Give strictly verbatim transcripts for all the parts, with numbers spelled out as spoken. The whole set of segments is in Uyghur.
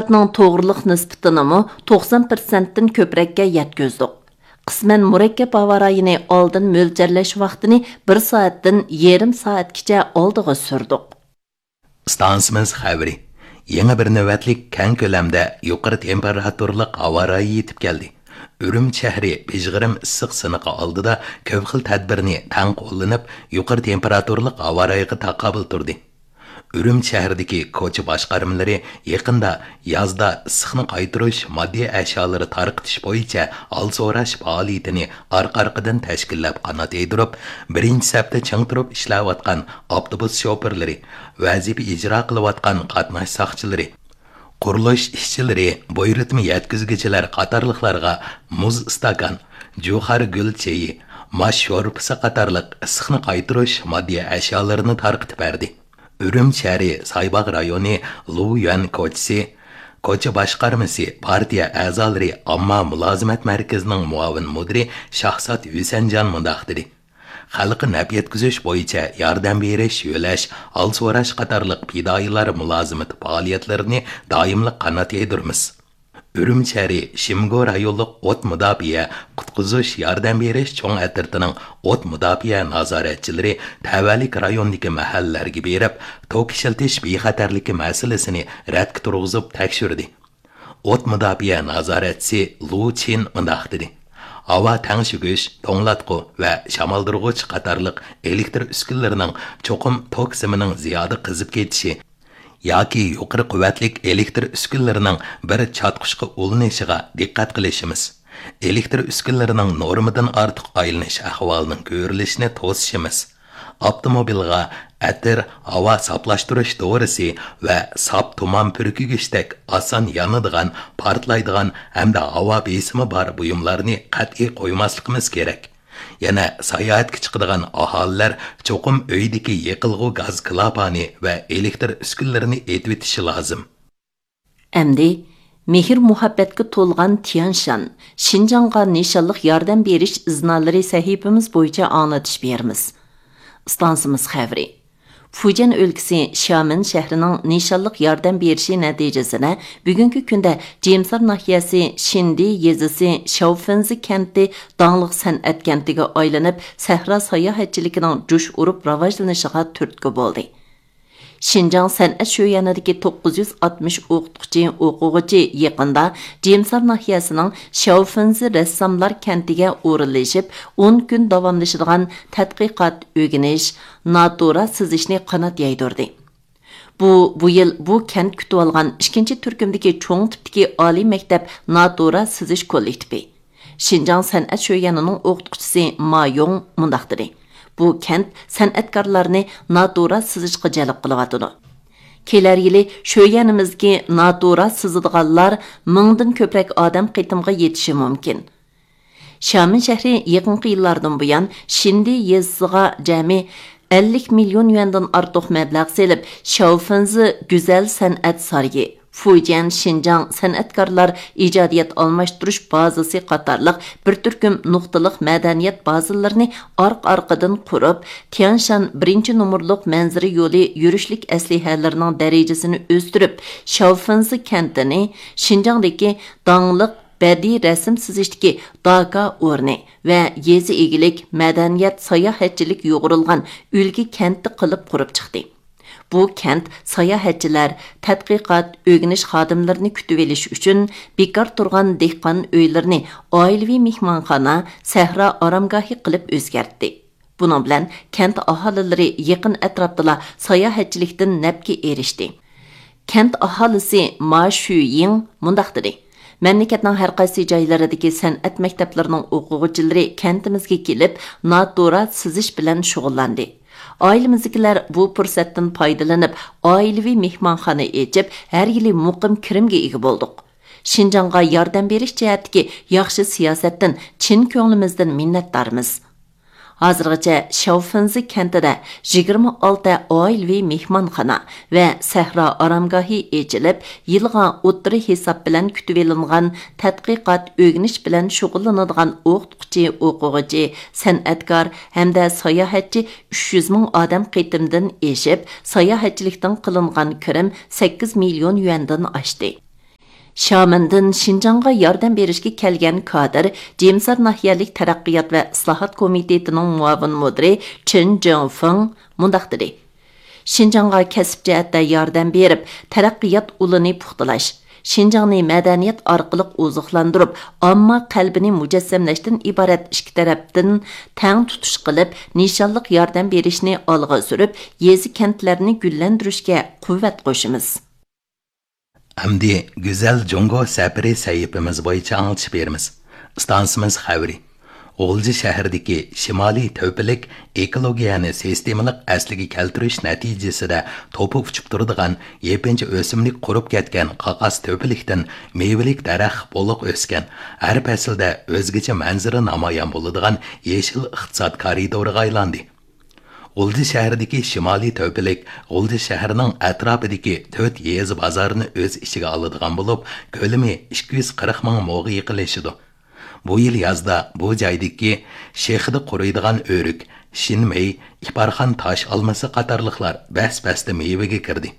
توغرىلىق نىسبىتىنىمۇ توقسان پىرسەنتتىن كۆپرەككە يەتكۈزدۇق. قىسمەن مۇرەككەپ ھاۋا رايىنى ئالدىن مۆلچەرلەش ۋاقتىنى بىر سائەتتىن يېرىم سائەتكىچە ئالدىغا سۈردۇق. ئىستانسىمىز خەۋىرى. يېڭى بىر نۆۋەتلىك كەڭ كۆلەمدە يۇقىرى تېمپېراتۇرىلىق ھاۋا رايى يېتىپ كەلدى. ئۈرۈمچى شەھىرى بىژغىرىم ئىسسىق سىنىقى ئالدىدا كۆپ خىل تەدبىرنى تەڭ قوللىنىپ، يۇقىرى تېمپېراتۇرىلىق ھاۋا رايىغا تاقابىل تۇردى. ئۈرۈمچى شەھىرىدىكى كوچا باشقارمىلىرى يېقىندا يازدا ئىسسىقنى قايتۇرۇش ماددىي ئەشيالىرى تارقىتىش بويىچە ھال سوراش پائالىيىتىنى ئارقا-ئارقىدىن تەشكىللەپ قانات يايدۇرۇپ، بىرىنچى سەپتە چىڭ تۇرۇپ ئىشلەۋاتقان ئاپتوبۇس شوپۇرلىرى، ۋەزىپە ئىجرا قىلىۋاتقان قاتناش ساقچىلىرى، قۇرۇلۇش ئىشچىلىرى، بۇيرۇتما يەتكۈزگۈچىلەر قاتارلىقلارغا مۇز ئىستاكان، جۇخار گۈل چېيى، ماش شورپىسى قاتارلىق ئىسسىقنى قايتۇرۇش ماددىي ئەشيالىرىنى تارقىتىپ بەردى. ئۈرۈمچى شەھىرى سايباغ رايونى لۇيۈەن كوچىسى، كوچا باشقارمىسى، پارتىيە ئەزالىرى، ئامما مۇلازىمەت مەركىزىنىڭ مۇئاۋىن مۇدىرى شاھزات ھۈسەنجان مۇنداق دېدى: خەلققە نەپ يەتكۈزۈش بويىچە ياردەم بېرىش، يۆلەش، ھال سوراش قاتارلىق پىدائىيلار مۇلازىمىتى پائالىيەتلىرىنى دائىملىق قانات يايدۇرىمىز. ئۈرۈمچى شەھىرى شىمگو رايونلۇق ئوت مۇداپىئە، قۇتقۇزۇش، ياردەم بېرىش چوڭ ئەترىتىنىڭ ئوت مۇداپىئە نازارەتچىلىرى تەۋەلىك رايوندىكى مەھەللىلەرگە بېرىپ، توك ئىشلىتىش بىخەتەرلىكى مەسىلىسىنى رەتكە تۇرغۇزۇپ تەكشۈردى. ئوت مۇداپىئە نازارەتچىسى لۇ چىن مۇنداق دېدى: ھاۋا تەڭشىگۈچ، توڭلاتقۇ ۋە شامالدۇرغۇچ قاتارلىق ئېلېكتر ئۈسكۈنىلىرىنىڭ چوقۇم توك سىمىنىڭ زىيادە قىزىپ كېتىشى ياكى يۇقىرى قۇۋۋەتلىك ئېلېكتر ئۈسكۈنىلىرىنىڭ بىر چاتقۇچقا ئۇلىنىشىغا دىققەت قىلىشىمىز. ئېلېكتر ئۈسكۈنىلىرىنىڭ نورمىدىن ئارتۇق ئايلىنىش ئەھۋالىنىڭ كۆرۈلۈشىنى توسۇشىمىز. ئاپتوموبىلغا ئەتىر، ھاۋا ساپلاشتۇرۇش دورىسى ۋە ساپ تۇمان پۈركۈگۈچتەك ئاسان يانىدىغان، پارتلايدىغان ھەمدە ھاۋا بېسىمى بار بۇيۇملارنى قەتئىي قويماسلىقىمىز كېرەك. يەنە ساياھەتكە چىقىدىغان ئاھالىلەر چوقۇم ئۆيدىكى يېقىلغۇ گاز كلاپانى ۋە ئېلېكتر ئۈسكۈنىلىرىنى ئېتىۋېتىشى لازىم. ئەمدى مېھىر-مۇھەببەتكە تولغان تيەنشان، شىنجاڭغا نىشانلىق ياردەم بېرىش ئىزنالىرى سەھىپىمىز بويىچە ئاڭلىتىش بېرىمىز. ئىستانسىمىز خەۋىرى. فۇجيەن ئۆلكىسى شيامېن شەھىرىنىڭ نىشانلىق ياردەم بېرىشى نەتىجىسىدە، بۈگۈنكى كۈندە جىمسار ناھىيەسى شىندى يېزىسى شياۋفېنزى كەنتى داڭلىق سەنئەت كەنتىگە ئايلىنىپ، سەھرا ساياھەتچىلىكىنىڭ جۇش ئۇرۇپ راۋاجلىنىشىغا تۈرتكە بولدى. شىنجاڭ سەنئەت شۆيەنىدىكى توققۇز يۈز ئاتمىش ئوقۇتقۇچى، ئوقۇغۇچى يېقىندا جىمسار ناھىيەسىنىڭ شياۋفېنزى رەسساملار كەنتىگە ئورۇنلىشىپ، ئون كۈن داۋاملىشىدىغان تەتقىقات، ئۆگىنىش، ناتۇرا سىزىشنى قانات يايدۇردى. بۇ، بۇ يىل بۇ كەنت كۈتۈۋالغان ئىككىنچى تۈركۈمدىكى چوڭ تىپتىكى ئالىي مەكتەپ ناتۇرا سىزىش كوللېكتىپى. شىنجاڭ سەنئەت شۆيەنىنىڭ ئوقۇتقۇچىسى ما يوڭ مۇنداق دېدى: بۇ كەنت سەنئەتكارلارنى ناتۇرا سىزىشقا جەلپ قىلىۋاتىدۇ. كېلەر يىلى شۆيەنىمىزدىكى ناتۇرا سىزىدىغانلار مىڭدىن كۆپرەك ئادەم قېتىمغا يېتىشى مۇمكىن. شيامېن شەھىرى يېقىنقى يىللاردىن بۇيان شىندى يېزىسىغا جەمئىي ئەللىك مىليون يۈەندىن ئارتۇق مەبلەغ سېلىپ، شياۋفېنزى گۈزەل سەنئەت سارىيى، فۇجيەن شىنجاڭ سەنئەتكارلار ئىجادىيەت ئالماشتۇرۇش بازىسى قاتارلىق بىر تۈركۈم نۇقتىلىق مەدەنىيەت بازىلىرىنى ئارقا-ئارقىدىن قۇرۇپ، تيەنشان بىرىنچى نومۇرلۇق مەنزىرە يولى يۈرۈشلۈك ئەسلىھەلىرىنىڭ دەرىجىسىنى ئۆستۈرۈپ، شياۋفېنزى كەنتىنى شىنجاڭدىكى داڭلىق بەدىئىي رەسىم سىزىشتىكى داكا ئورنى ۋە يېزا ئىگىلىك، مەدەنىيەت، ساياھەتچىلىك يۇغۇرۇلغان ئۈلگە كەنتى قىلىپ قۇرۇپ چىقتى. بۇ كەنت ساياھەتچىلەر، تەتقىقات، ئۆگىنىش خادىملىرىنى كۈتۈۋېلىش ئۈچۈن بىكار تۇرغان دېھقان ئۆيلىرىنى ئائىلىۋى مېھمانخانا، سەھرا ئارامگاھى قىلىپ ئۆزگەرتتى. بۇنىڭ بىلەن كەنت ئاھالىلىرى يېقىن ئەتراپتىلا ساياھەتچىلىكتىن نەپكە ئېرىشتى. كەنت ئاھالىسى ما شۈيىڭ مۇنداق دېدى: مەملىكەتنىڭ ھەر قايسى جايلىرىدىكى سەنئەت مەكتەپلىرىنىڭ ئوقۇغۇچىلىرى كەنتىمىزگە كېلىپ، ناتۇرا سىزىش بىلەن شۇغۇللاندى. ئائىلىمىزدىكىلەر بۇ پۇرسەتتىن پايدىلىنىپ، ئائىلىۋى مېھمانخانا ئېچىپ، ھەر يىلى مۇقىم كىرىمگە ئىگە بولدۇق. شىنجاڭغا ياردەم بېرىش جەھەتتىكى ياخشى سىياسەتتىن چىن كۆڭلىمىزدىن مىننەتدارمىز. ھازىرغىچە شياۋفېنزى كەنتىدە يىگىرمە ئالتە ئائىلىۋى مېھمانخانا ۋە سەھرا ئارامگاھى ئېچىلىپ، يىلغا ئوتتۇرا ھېساب بىلەن كۈتۈۋېلىنغان تەتقىقات، ئۆگىنىش بىلەن شۇغۇللىنىدىغان ئوقۇتقۇچى، ئوقۇغۇچى، سەنئەتكار ھەمدە ساياھەتچى ئۈچ يۈز مىڭ ئادەم قېتىمدىن ئېشىپ، ساياھەتچىلىكتىن قىلىنغان كىرىم سەككىز مىليون يۈەندىن ئاشتى. شامېندىن شىنجاڭغا ياردەم بېرىشكە كەلگەن كادىر، جىمسار ناھىيەلىك تەرەققىيات ۋە ئىسلاھات كومىتېتىنىڭ مۇئاۋىن مۇدىرى چېن جېڭفېڭ مۇنداق دېدى: شىنجاڭغا كەسىپ جەھەتتە ياردەم بېرىپ، تەرەققىيات ئۇلىنى پۇختىلاش، شىنجاڭنى مەدەنىيەت ئارقىلىق ئوزۇقلاندۇرۇپ، ئامما قەلبىنى مۇجەسسەملەشتىن ئىبارەت ئىككى تەرەپتىن تەڭ تۇتۇش قىلىپ، نىشانلىق ياردەم بېرىشنى ئالغا سۈرۈپ، يېزا، كەنتلەرنى گۈللەندۈرۈشكە قۇۋۋەت قوشىمىز. ئەمدى گۈزەل جۇڭگو سەپىرى سەھىپىمىز بويىچە ئاڭلىتىش بېرىمىز. ئىستانسىمىز خەۋىرى. غۇلجا شەھىرىدىكى شىمالىي تۆپىلىك ئېكولوگىيەنى سىستېمىلىق ئەسلىگە كەلتۈرۈش نەتىجىسىدە توپا ئۇچۇپ تۇرىدىغان يېپىنچا ئۆسۈملۈك قۇرۇپ كەتكەن قاقاس تۆپىلىكتىن مېۋىلىك دەرەخ بولۇق ئۆسكەن، ھەر پەسىلدە ئۆزگىچە مەنزىرە نامايان بولىدىغان يېشىل ئىقتىساد كارىدورىغا ئايلاندى. غۇلجا شەھىرىدىكى شىمالىي تۆپىلىك غۇلجا شەھىرىنىڭ ئەتراپىدىكى تۆت يېزا بازارنى ئۆز ئىچىگە ئالىدىغان بولۇپ، كۆلىمى ئىككى يۈز قىرىق مىڭ موغا يېقىنلىشىدۇ. بۇ يىل يازدا بۇ جايدىكى شېخىدا قۇرۇيدىغان ئۆرۈك، شىنمېي، ئىپارخان تاش ئالمىسى قاتارلىقلار بەس-بەستە مېۋىگە كىردى.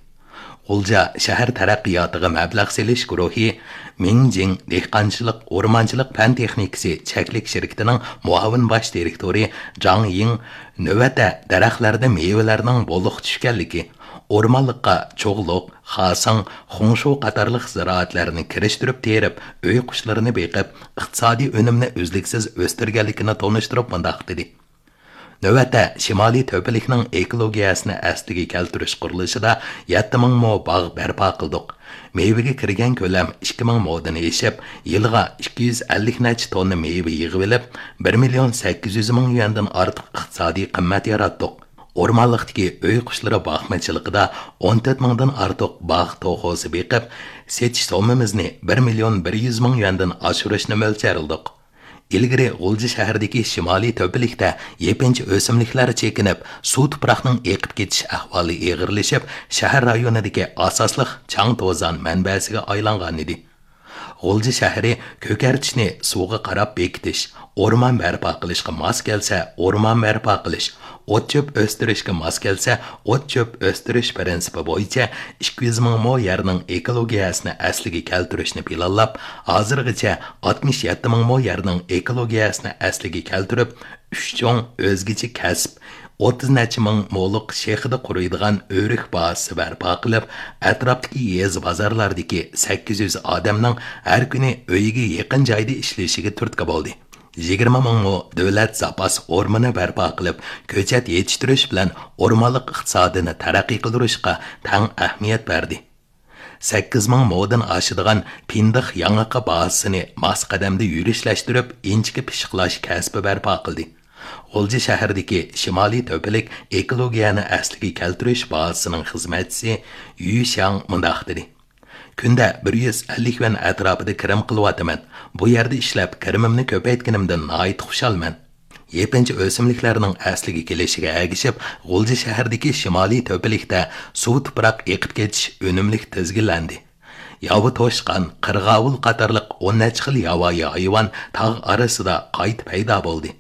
غۇلجا شەھەر تەرەققىياتىغا مەبلەغ سېلىش گۇرۇھى مىڭجىڭ دېھقانچىلىق، ئورمانچىلىق پەن تېخنىكىسى چەكلىك شىركىتىنىڭ مۇئاۋىن باش دىرېكتورى جاڭ يىڭ نۆۋەتتە دەرەخلەردە مېۋىلەرنىڭ بولۇق چۈشكەنلىكى، ئورمانلىققا چوغلۇق، خاسىڭ، خۇڭشۇ قاتارلىق زىرائەتلەرنى كىرىشتۈرۈپ تېرىپ، ئۆي قۇشلىرىنى بېقىپ، ئىقتىسادىي ئۈنۈمنى ئۈزلۈكسىز ئۆستۈرگەنلىكىنى تونۇشتۇرۇپ مۇنداق دېدى: نۆۋەتتە شىمالىي تۆپىلىكنىڭ ئېكولوگىيەسىنى ئەسلىگە كەلتۈرۈش قۇرۇلۇشىدا يەتتە مىڭ مو باغ بەرپا قىلدۇق. مېۋىگە كىرگەن كۆلەم ئىككى مىڭ مودىن ئېشىپ، يىلىغا ئىككى يۈز ئەللىك نەچچە توننا مېۋە يىغىۋېلىپ، بىر مىليون سەككىز يۈز مىڭ يۈەندىن ئارتۇق ئىقتىسادىي قىممەت ياراتتۇق. ئورمانلىقتىكى ئۆي قۇشلىرى باقمىچىلىقىدا ئون تۆت مىڭدىن ئارتۇق باغ توخۇسى بېقىپ، سېتىش سوممىمىزنى بىر مىليون بىر يۈز مىڭ يۈەندىن ئاشۇرۇشنى مۆلچەرلىدۇق. ئىلگىرى غۇلجا شەھىرىدىكى شىمالىي تۆپىلىكتە يېپىنچا ئۆسۈملۈكلەر چېكىنىپ، سۇ تۇپراقنىڭ ئېقىپ كېتىش ئەھۋالى ئېغىرلىشىپ، شەھەر رايونىدىكى ئاساسلىق چاڭ توزان مەنبەسىگە ئايلانغانىدى. غۇلجا شەھىرى كۆكەرتىشنى سۇغا قاراپ بېكىتىش، ئورمان بەرپا قىلىشقا ماس كەلسە، ئورمان بەرپا قىلىش، ئوت-چۆپ ئۆستۈرۈشكە ماس كەلسە، ئوت-چۆپ ئۆستۈرۈش پىرىنسىپى بويىچە ئىككى يۈز مىڭ مو يەرنىڭ ئېكولوگىيەسىنى ئەسلىگە كەلتۈرۈشنى پىلانلاپ، ھازىرغىچە ئاتمىش يەتتە مىڭ مو يەرنىڭ ئېكولوگىيەسىنى ئەسلىگە كەلتۈرۈپ، ئۈچ چوڭ ئۆزگىچە كەسىپ، ئوتتۇز نەچچە مىڭ مولۇق شېخىدا قۇرۇيدىغان ئۆرۈك بازىسى بەرپا قىلىپ، ئەتراپتىكى يېزا بازارلاردىكى سەككىز يۈز ئادەمنىڭ ھەر كۈنى ئۆيىگە يېقىن جايدا ئىشلىشىگە تۈرتكە بولدى. يىگىرمە مىڭ مو دۆلەت زاپاس ئورمىنى بەرپا قىلىپ، كۆچەت يېتىشتۈرۈش بىلەن ئورمانلىق ئىقتىسادىنى تەرەققىي قىلدۇرۇشقا تەڭ ئەھمىيەت بەردى. سەككىز مىڭ مودىن ئاشىدىغان پىندىق ياڭىقى بازىسىنى ماس قەدەمدە يۈرۈشلەشتۈرۈپ، ئىنچىكە پىششىقلاش كەسپى بەرپا قىلدى. غۇلجا شەھىرىدىكى شىمالىي تۆپىلىك ئېكولوگىيەنى ئەسلىگە كەلتۈرۈش بازىسىنىڭ خىزمەتچىسى يۈ شياڭ مۇنداق دېدى: كۈندە بىر يۈز ئەللىك يۈەن ئەتراپىدا كىرىم قىلىۋاتىمەن. بۇ يەردە ئىشلەپ، كىرىمىمنى كۆپەيتكىنىمدىن ناھايىتى خۇشالمەن. يېپىنچا ئۆسۈملۈكلەرنىڭ ئەسلىگە كېلىشىگە ئەگىشىپ، غۇلجا شەھىرىدىكى شىمالىي تۆپىلىكتە سۇ تۇپراق ئېقىپ كېتىش ئۈنۈملۈك تىزگىنلەندى. ياۋا توشقان، قىرغاۋۇل قاتارلىق ئون نەچچە خىل ياۋايى ھايۋان تاغ ئارىسىدا قايتا پەيدا بولدى.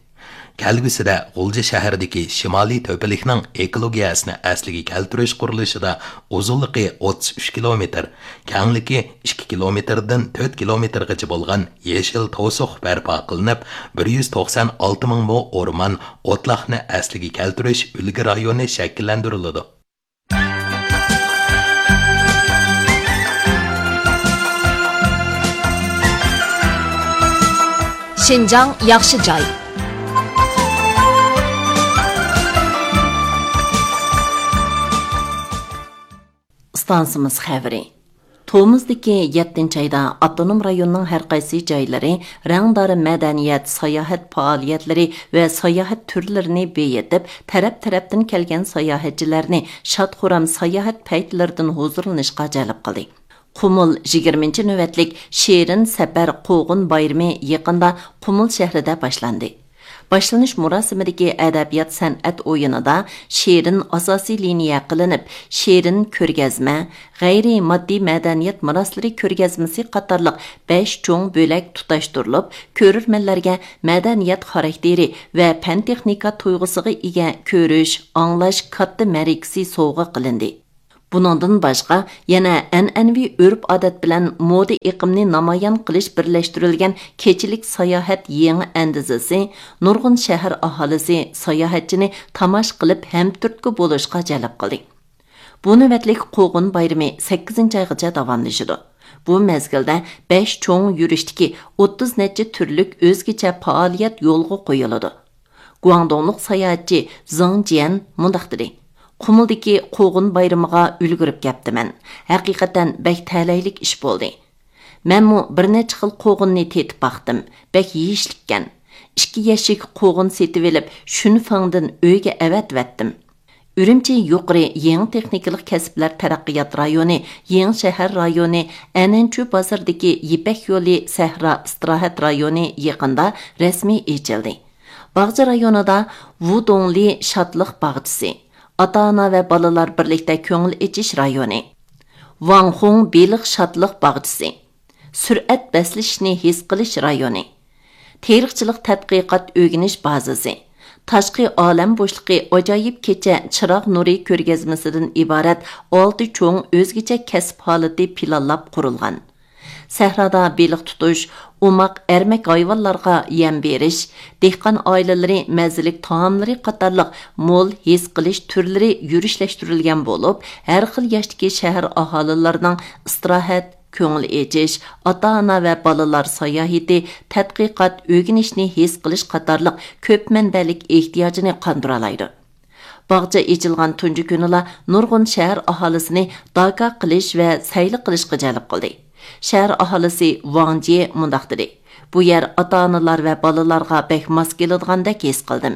كەلگۈسىدە غۇلجا شەھىرىدىكى شىمالىي تۆپىلىكنىڭ ئېكولوگىيەسىنى ئەسلىگە كەلتۈرۈش قۇرۇلۇشىدا ئۇزۇنلۇقى ئوتتۇز ئۈچ كىلومېتىر، كەڭلىكى ئىككى كىلومېتىردىن تۆت كىلومېتىرغىچە بولغان يېشىل توسۇق بەرپا قىلىنىپ، بىر يۈز توقسان ئالتە مىڭ مو ئورمان، ئوتلاقنى ئەسلىگە كەلتۈرۈش ئۈلگە رايونى شەكىللەندۈرۈلىدۇ. شىنجاڭ ياخشى جاي. ئىستانسىمىز خەۋىرى. تومۇزدىكى يەتتىنچى ئايدا ئاپتونوم رايوننىڭ ھەر قايسى جايلىرى رەڭدار مەدەنىيەت، ساياھەت پائالىيەتلىرى ۋە ساياھەت تۈرلىرىنى بېيىتىپ، تەرەپ-تەرەپتىن كەلگەن ساياھەتچىلەرنى شاد-خۇرام ساياھەت پەيتلىرىدىن ھۇزۇرلىنىشقا جەلپ قىلدى. قۇمۇل يىگىرمىنچى نۆۋەتلىك شېرىن سەپەر قوغۇن بايرىمى يېقىندا قۇمۇل شەھىرىدە باشلاندى. باشلىنىش مۇراسىمىدىكى ئەدەبىيات سەنئەت ئويۇنىدا شېرىن ئاساسىي لىنىيە قىلىنىپ، شېرىن كۆرگەزمە، غەيرىي ماددىي مەدەنىيەت مىراسلىرى كۆرگەزمىسى قاتارلىق بەش چوڭ بۆلەك تۇتاشتۇرۇلۇپ، كۆرۈرمەنلەرگە مەدەنىيەت خاراكتېرى ۋە پەن-تېخنىكا تۇيغۇسىغا ئىگە كۆرۈش، ئاڭلاش كاتتا مەرىكىسى سوۋغا قىلىندى. بۇنىڭدىن باشقا، يەنە ئەنئەنىۋى ئۆرپ-ئادەت بىلەن مودا ئېقىمنى نامايان قىلىش بىرلەشتۈرۈلگەن كېچىلىك ساياھەت يېڭى ئەندىزىسى نۇرغۇن شەھەر ئاھالىسى، ساياھەتچىنى تاماشا قىلىپ ھەمتۈرتكە بولۇشقا جەلپ قىلدى. بۇ نۆۋەتلىك قوغۇن بايرىمى سەككىزىنچى ئايغىچە داۋاملىشىدۇ. بۇ مەزگىلدە بەش چوڭ يۈرۈشتىكى ئوتتۇز نەچچە تۈرلۈك ئۆزگىچە پائالىيەت يولغا قويۇلىدۇ. گۇاڭدۇڭلۇق ساياھەتچى زېڭ جيەن مۇنداق دېدى: «قۇمۇلدىكى قوغۇن بايرىمىغا ئۈلگۈرۈپ كەپتىمەن. ھەقىقەتەن بەك تەلەيلىك ئىش بولدى. مەنمۇ بىر نەچچە خىل قوغۇننى تېتىپ باقتىم. بەك يېيىشلىككەن. ئىككى يەشىك قوغۇن سېتىۋېلىپ، شۈنفېڭدىن ئۆيگە ئەۋەتىۋەتتىم.» ئۈرۈمچى يۇقىرى يېڭى تېخنىكىلىق كەسىپلەر تەرەققىيات رايونى، يېڭى شەھەر رايونى، ئەنەنچۇ بازىرىدىكى يىپەك يولى سەھرا ئىستىراھەت رايونى يېقىندا رەسمىي ئېچىلدى. باغچە رايونىدا ۋۇدۇڭلى شادلىق باغچىسى، ئاتا-ئانا ۋە بالىلار بىرلىكتە كۆڭۈل ئېچىش رايونى، ۋاڭخۇڭ بېلىق شادلىق باغچىسى، سۈرئەت بەسلىشىشنى ھېس قىلىش رايونى، تېرىقچىلىق تەتقىقات ئۆگىنىش بازىسى، تاشقى ئالەم بوشلۇقى ئاجايىپ كېچە چىراغ نۇرى كۆرگەزمىسىدىن ئىبارەت ئالتە چوڭ ئۆزگىچە كەسىپ ھالىتى پىلانلاپ قۇرۇلغان. سەھرادا بېلىق تۇتۇش، ئوماق ئەرمەك ھايۋانلارغا يەم بېرىش، دېھقان ئائىلىلىرى مەززىلىك تائاملىرى قاتارلىق مول ھېس قىلىش تۈرلىرى يۈرۈشلەشتۈرۈلگەن بولۇپ، ھەر خىل ياشتىكى شەھەر ئاھالىلىرىنىڭ ئىستىراھەت، كۆڭۈل ئېچىش، ئاتا-ئانا ۋە بالىلار ساياھىتى، تەتقىقات، ئۆگىنىشنى ھېس قىلىش قاتارلىق كۆپ مەنبەلىك ئېھتىياجىنى قاندۇرالايدۇ. باغچە ئېچىلغان تۇنجى كۈنىلا نۇرغۇن شەھەر ئاھالىسىنى داكا قىلىش ۋە سەيلە قىلىشقا جەلپ قىلدى. شەھەر ئاھالىسى ۋاڭ جيې مۇنداق دېدى: «بۇ يەر ئاتا-ئانىلار ۋە بالىلارغا بەك ماس كېلىدىغاندەك ھېس قىلدىم.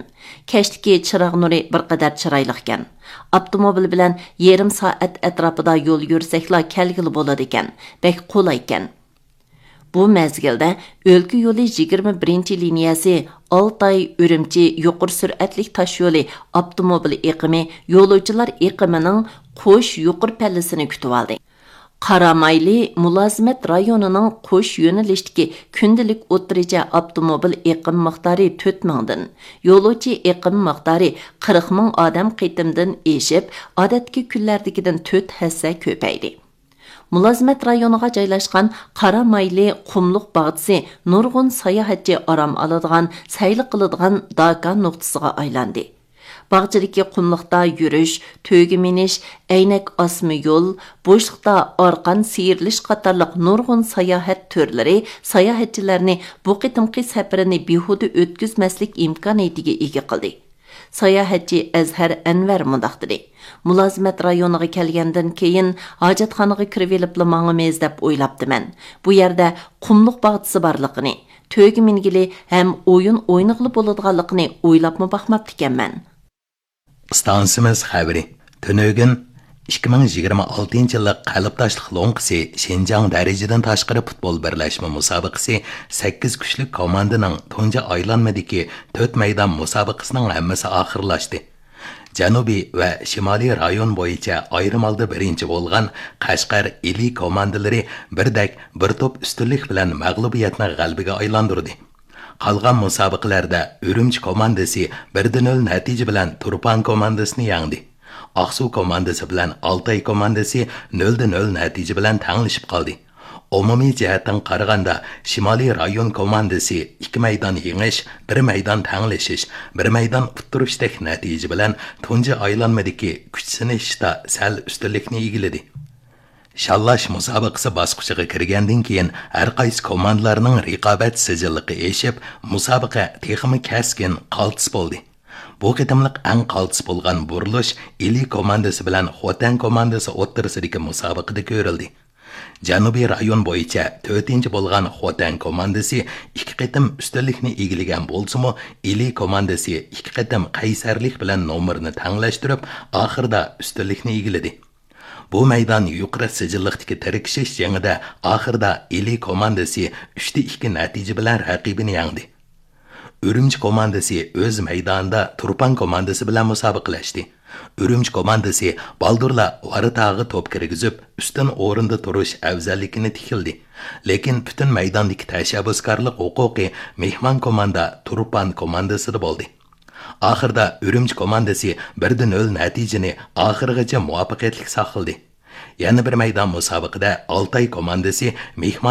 كەچتىكى چىراغ نۇرى بىر قەدەر چىرايلىقكەن. ئاپتوموبىل بىلەن يېرىم سائەت ئەتراپىدا يول يۈرسەكلا كەلگىلى بولىدىكەن. بەك قولايكەن.» بۇ مەزگىلدە ئۆلكە يولى يىگىرمە بىرىنچى لىنىيەسى ئالتاي، ئۈرۈمچى يۇقىرى سۈرئەتلىك تاشيولى ئاپتوموبىل ئېقىمى يولۇچىلار ئېقىمىنىڭ قوش يۇقىرى پەللىسىنى كۈتۈۋالدى. قارامايلى مۇلازىمەت رايونىنىڭ قوش يۆنىلىشتىكى كۈندىلىك ئوتتۇرىچە ئاپتوموبىل ئېقىم مىقدارى تۆت مىڭدىن، يولۇچى ئېقىم مىقدارى قىرىق مىڭ ئادەم قېتىمدىن ئېشىپ، ئادەتتىكى كۈنلەردىكىدىن تۆت ھەسسە كۆپەيدى. مۇلازىمەت رايونىغا جايلاشقان قارامايلى قۇملۇق باغچىسى نۇرغۇن ساياھەتچى ئارام ئالىدىغان، سەيلە قىلىدىغان داكا نۇقتىسىغا ئايلاندى. باغچىدىكى قۇملۇقتا يۈرۈش، تۆگە مىنىش، ئەينەك ئاسما يول، بوشلۇقتا ئارقان سىيرىلىش قاتارلىق نۇرغۇن ساياھەت تۈرلىرى ساياھەتچىلەرنى بۇ قېتىمقى سەپىرىنى بىھۇدە ئۆتكۈزمەسلىك ئىمكانىيىتىگە ئىگە قىلدى. ساياھەتچى ئەزھەر ئەنۋەر مۇنداق دېدى: «مۇلازىمەت رايونىغا كەلگەندىن كېيىن، ھاجەتخانىغا كىرىۋېلىپلا ماڭىمىز دەپ ئويلاپتىمەن. بۇ يەردە قۇملۇق باغچىسى بارلىقىنى، تۆگە مىنگىلى ھەم ئويۇن ئوينىغىلى بولىدىغانلىقىنى ئويلاپمۇ باقماپتىكەنمەن.» ئىستانسىمىز خەۋىرى. تۈنۈگۈن ئىككى مىڭ يىگىرمە ئالتىنچى يىللىق قەلبداشلىق لوڭقىسى شىنجاڭ دەرىجىدىن تاشقىرى پۇتبول بىرلەشمە مۇسابىقىسى سەككىز كۈچلۈك كوماندىنىڭ تۇنجى ئايلانمىدىكى تۆت مەيدان مۇسابىقىسىنىڭ ھەممىسى ئاخىرلاشتى. جەنۇبىي ۋە شىمالىي رايون بويىچە ئايرىم ھالدا بىرىنچى بولغان قەشقەر، ئىلى كوماندىلىرى بىردەك بىر توپ ئۈستۈنلۈك بىلەن مەغلۇبىيەتنى غەلىبىگە ئايلاندۇردى. قالغان مۇسابىقىلەردە ئۈرۈمچى كوماندىسى بىر دە نۆل نەتىجە بىلەن تۇرپان كوماندىسىنى يەڭدى. ئاقسۇ كوماندىسى بىلەن ئالتاي كوماندىسى نۆل دە نۆل نەتىجە بىلەن تەڭلىشىپ قالدى. ئومۇمىي جەھەتتىن قارىغاندا، شىمالىي رايون كوماندىسى ئىككى مەيدان يېڭىش، بىر مەيدان تەڭلىشىش، بىر مەيدان ئۇتتۇرۇشتەك نەتىجە بىلەن تۇنجى ئايلانمىدىكى كۈچ سىنىشىشتا سەل ئۈستۈنلۈكنى ئىگىلىدى. شاللاش مۇسابىقىسى باسقۇچىغا كىرگەندىن كېيىن، ھەر قايسى كوماندىلارنىڭ رىقابەت سىجىللىقى ئېشىپ، مۇسابىقە تېخىمۇ كەسكىن، قالتىس بولدى. بۇ قېتىملىق ئەڭ قالتىس بولغان بۇرۇلۇش ئىلى كوماندىسى بىلەن خوتەن كوماندىسى ئوتتۇرىسىدىكى مۇسابىقىدە كۆرۈلدى. جەنۇبىي رايون بويىچە تۆتىنچى بولغان خوتەن كوماندىسى ئىككى قېتىم ئۈستۈنلۈكنى ئىگىلىگەن بولسىمۇ، ئىلى كوماندىسى ئىككى قېتىم قەيسەرلىك بىلەن نومۇرنى تەڭلەشتۈرۈپ، ئاخىرىدا ئۈستۈنلۈكنى ئىگىلىدى. بۇ مەيدان يۇقىرى سىجىللىقتىكى تىركىشىش جېڭىدە ئاخىرىدا ئىلى كوماندىسى ئۈچتە ئىككى نەتىجە بىلەن رەقىبىنى يەڭدى. ئۈرۈمچى كوماندىسى ئۆز مەيدانىدا تۇرپان كوماندىسى بىلەن مۇسابىقىلەشتى. ئۈرۈمچى كوماندىسى بالدۇرلا ۋاراتاغا توپ كىرگۈزۈپ، ئۈستۈن ئورۇندا تۇرۇش ئەۋزەللىكىنى تىكلىدى. لېكىن پۈتۈن مەيداندىكى تەشەببۇسكارلىق ھوقۇقى مېھمان كوماندا تۇرپان كوماندىسىدا بولدى. ئاخىردا ئۈرۈمچى كوماندىسى بىر دە نۆل نەتىجىنى ئاخىرغىچە مۇۋەپپەقىيەتلىك ساقلىدى. يەنە بىر مەيدان مۇسابىقىدە ئالتاي كوماندىسى مېھمان